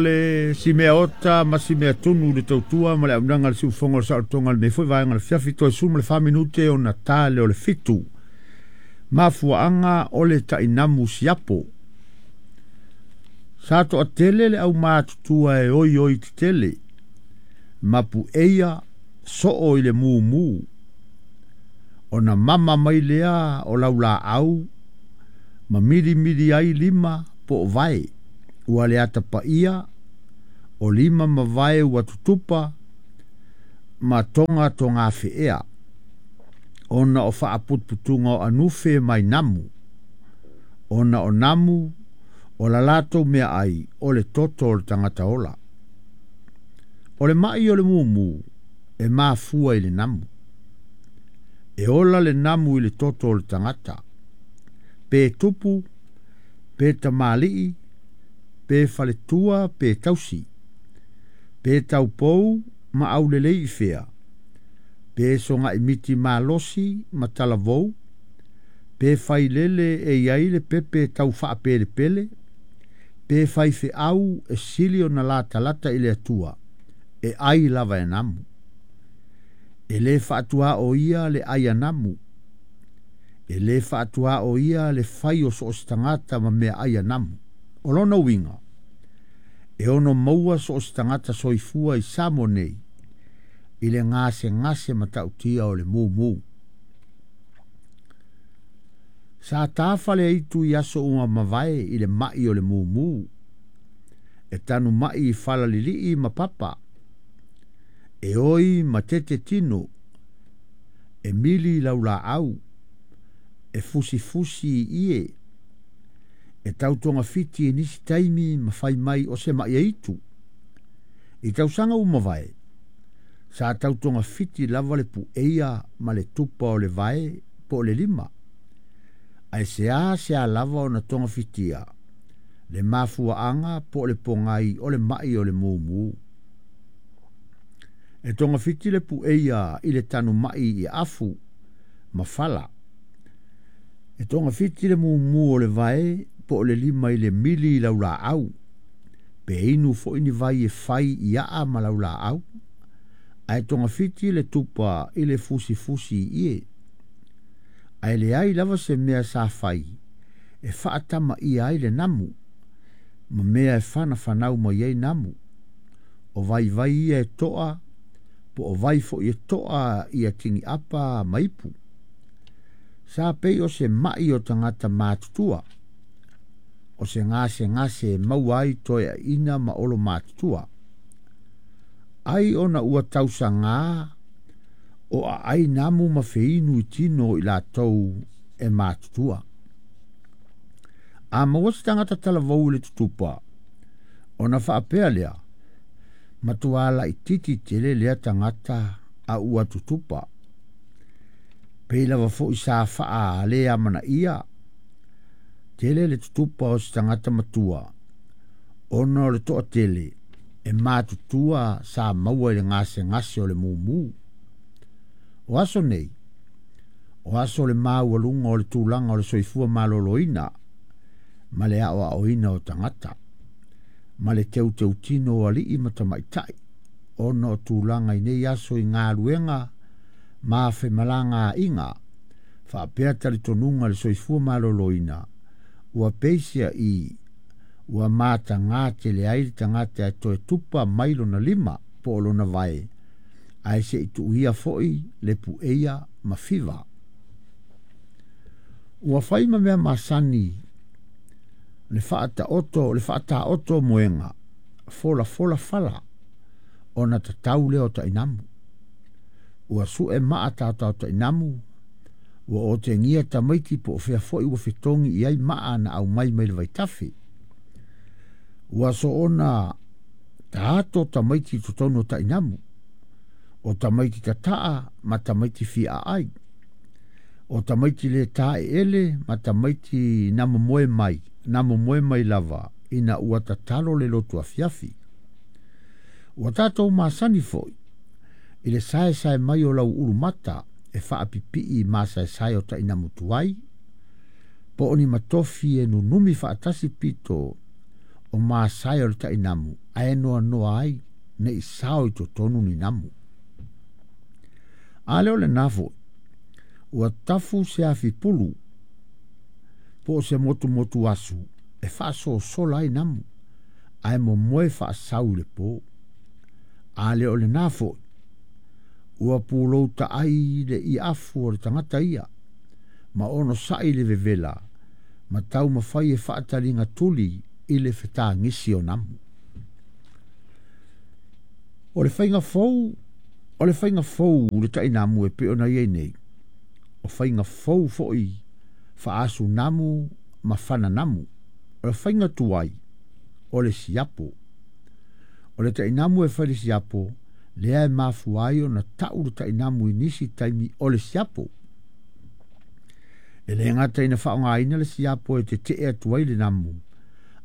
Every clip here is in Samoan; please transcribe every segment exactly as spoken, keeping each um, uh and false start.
Le simea ota ma simea tunu le tautua ma le aunaga le siufogo o le saolotoga lenei foi vaega le fiafi toe sulu ma le fa minute ona ta le o le fitu. Mafuaaga o le tainamu siapo. Sa toatele le aumatutua e oi oi tetele. Mapu eia soo i le mumu. Ona mama mai lea o laulaau ma mili mili ai lima po o vae. Ua le atapaia o lima ma vae ua tutupa ma tonga tonga feea. Ona o faaputuputuga o anufe mai namu. Ona o namu o la latou mea ai o le toto o le tagata ola. O le mai o le mumu e mafua i le namu. E ola le namu i le toto o le tagata. Pe tupu, pe tamalii, pe faletua, pe tausi. Pe taupou ma aulelei i fea. Pe sogaimiti malosi ma talavou. Pe failele e iai le pepe tau faapelepele. Pe faifeau e sili ona latalata i le Atua. E ai lava e namu. E le faatua o ia le ai a namu. E le faatua o ia le fai o so o se tagata ma mea ai a namu. O lona uiga, e ono maua so o se tagata soifua i Samoa nei, i le gasegase matautia o le mumu. Sa tafa le aitu i aso ua mavae i le mai o le mumu. E tanu mai i falalilii ma papa. E oi ma tete tino. E mili laulaau. E fusifusi i ie. E tautoga fiti e nisi taimi ma fai mai o se mai aitu. I tausaga ua mavae, sa tautoga fiti lava le pueia ma le tupa o le vae po o le lima. Ae sea sea lava ona toga fitia, le mafuaaga po o le pogai o le mai o le mumu. E toga fiti le pueia i le tanu mai i afu ma fala. E toga fiti le mumu o le vae po o le lima i le mili i laulaau. Pe inu foi ni vai e fai i aa ma laulaau. Ae toga fiti le tupa i le fusifusi i ie. Ae leai lava se mea sa fai e faatama ia ai le namu. Ma mea e whana mai ai namu. O vai vai ia e toa, po o vai fo i e toa i a tingi apa maipu. Sa pei o se mai o tangata mātutua. O se ngase ngase maua ai toe a ina ma olo mātutua. Ai ona ua tausanga o a ai namu ma feinu i tino i latou e mātutua. A maua se tagata talavou i le tutupa, ona faapea lea, matua laititi tele lea tagata a ua tutupa. Pei lava foi sa faa lea manaia, tele le tutupa o se tagata matua, ona o le toatele e matutua sa maua i le gasegase o le mumu. O aso nei, o aso le maualuga o le tulaga o le soifua maloloina, ma le aoaoina o tagata, ma le teuteutino o alii ma tamaitai, ona o tulaga i nei aso i galuega ma femalagaaiga, faapea talitonuga le soifua maloloina, ua peisia i ua matagā tele ai le tagata e toe tupa mai lona lima po o lona vae, ae se i tuuia foi le pueia ma fiva. Ua fai ma mea masani le faataoto le faataoto moega, fola fola fala, ona tatau lea o tainamu. Ua sue maa tautau tainamu, ua otegia tamaiti po o fea foi ua fetogi i ai maa na aumai mai le vaitafe. Ua soona taato tamaiti i totonu o tainamu, o tamaiti tataa ma tamaiti fia ai. O tamaiti le tae ele ma tamaiti na momoe mai, na momoe mai lava ina ua tatalo le lotu afiafi. Ua tatou masani foi i le saesae mai o lau ulumata e faapipii masaesae o tainamu tuai, po o ni matofi e nunumi faatasi pito o masae o le taʻinamu ae noanoa ai neʻi sao i totonu ni namu. A lea o lenā foʻi ua tafu se afi pulu po o se motumotu asu e faasosola ai namu ae momoe faasau i le pō. A lea o lenā foʻi ua pulou taʻai le iafu o le tagata ia ma ono saʻi le vevela ma taumafai e faataliga tuli i le fetagisi o namu. O le faiga fou o le faiga fou le taʻinamu e pei ona iai nei o faiga fou foʻi faasunamu ma fananamu. O le faiga tuai o le siapo. O le taʻinamu e fai le siapo lea e mafua ai ona taʻu le taʻinamu i nisi taimi o le siapo. E lē gata ina faaaogāina le siapo e teteʻe atu ai le namu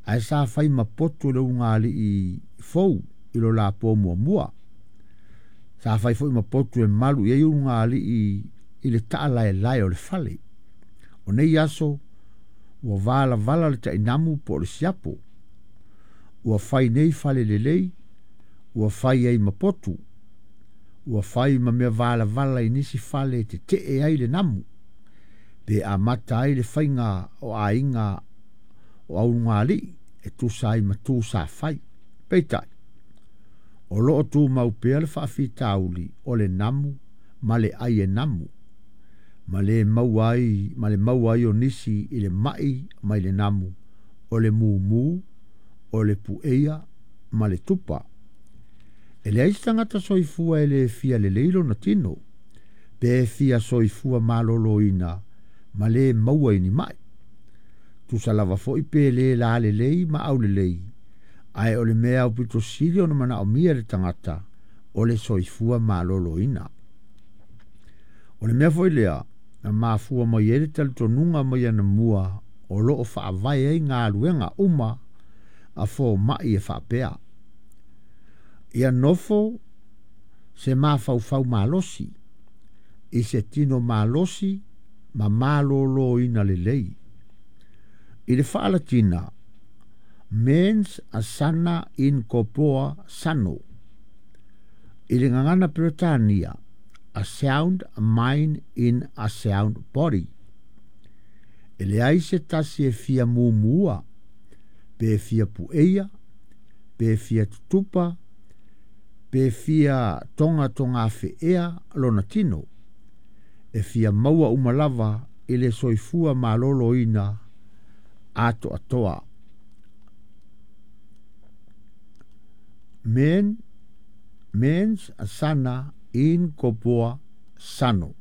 ae sa fai ma potu e le ulugalii fou i lo lapo muamua. Sa fai foʻi ma potu e malu i ai ulugalii i le taʻalaelae o le fale. O nei aso ua valavala le taʻinamu po o le siapo. Ua fai nei fale lelei, ua fai ai ma potu, ua fai ma mea valavala i nisi fale e teteʻe ai le namu pe amata ai le faiga o aiga o aulugalii e tusa ai ma tu sa fai. Peitai, o loo tumau pea le faafitauli o le namu ma le ai e namu ma le maua ai ma le maua ai o nisi i le maʻi mai le namu o le mumu o le pueia ma le tupa. E leai se tagata soifua e lē fia lelei lona tino pe fia soifua malōlōina ma lē maua i ni maʻi. Tusa lava foʻi pe lē lalelei ma aulelei ae o le mea aupito sili ona manaʻomia e le tagata o le soifua malōlōina. O le mea foʻi lea na mafua mai ai le talitonuga mai anamua o loo faavae ai galuega uma a fomaʻi e faapea. Ia nofo se mafaufau malosi i se tino malosi ma malōlōina lelei. I le faalatina mens sana in corpore sano. I le gagana Peretania a sound mind in a sound body. E leai se tasi e fia mumua pe fia pueia pe fia tutupa pe fia tonga tonga feea lona tino. E fia maua uma lava i le soifua malōlōina atoatoa. Men mens sana in corpore sano.